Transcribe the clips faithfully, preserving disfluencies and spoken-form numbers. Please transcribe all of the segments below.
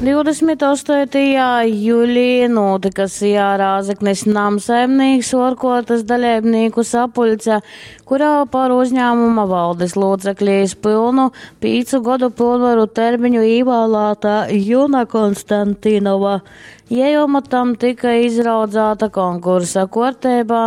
Divdesmit ostoitajā julī nūtyka SIA Rāzeknis namsaimnīks uorkuortys daleibnīku sapuļce, kurā par uzņāmuma valdes lūcekli iz pylnu pīcu godu pylnvaru termiņu īvālāta Juna Konstantinova. Jei omotam tyka izraudzāta konkursa kuorteibā,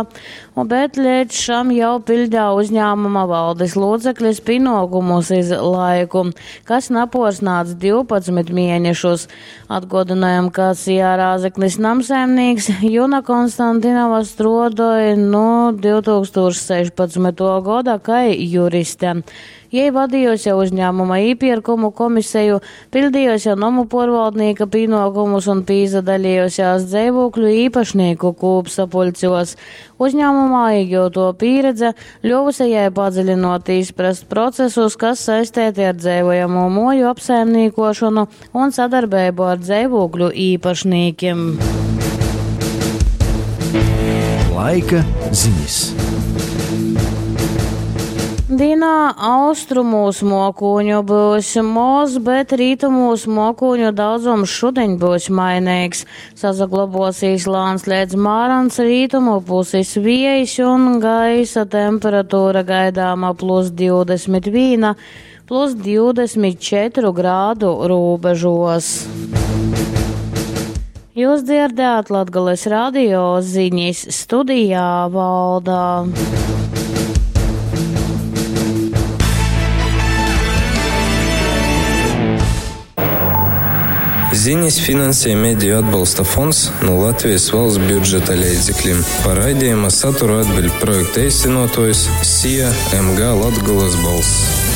bet leidz šam jau piļdeja uzņāmuma valdes lūceklis pienokumus iz laiku, kas napuorsnādz divpadsmit mienešus. Atguodynojam, ka SIA Rāzeknis namsaimnīks Juna Konstantinova struodoj nu divtūkstūš sešpadsmytuo goda kai juriste. Jei vadījusi uzņēmuma īpirkumu komisiju, pildījusi nomu porvaldnieka pienokumus un pīsadalījusies dzīvokļu īpašnieku kūpsapuļcos. Uzņēmumā iegūto pieredze ļuvusi jai padziļinot izprast procesus, kas saistīti ar dzīvojamo moju apsaimniekošanu un sadarbību ar dzīvokļu īpašniekiem. Laika ziņas. Dienā austrumūs mokūņu būs moz, bet rītumūs mokūņu daudzums šodien būs mainīgs. Sasaglabosies lāns līdz mārans rītumu puses viejs un gaisa temperatūra gaidāma plus divdesmit viena, plus divdesmit četru grādu robežos. Jūs dzirdējāt Latgales radio ziņas studijā Valdā. Ziņas finansē Mediju atbalsta fonds no Latvijas valsts budžeta līdzekļiem. Par raidījuma saturu atbild projekta īstenotājs SIA M G Latgolas balss.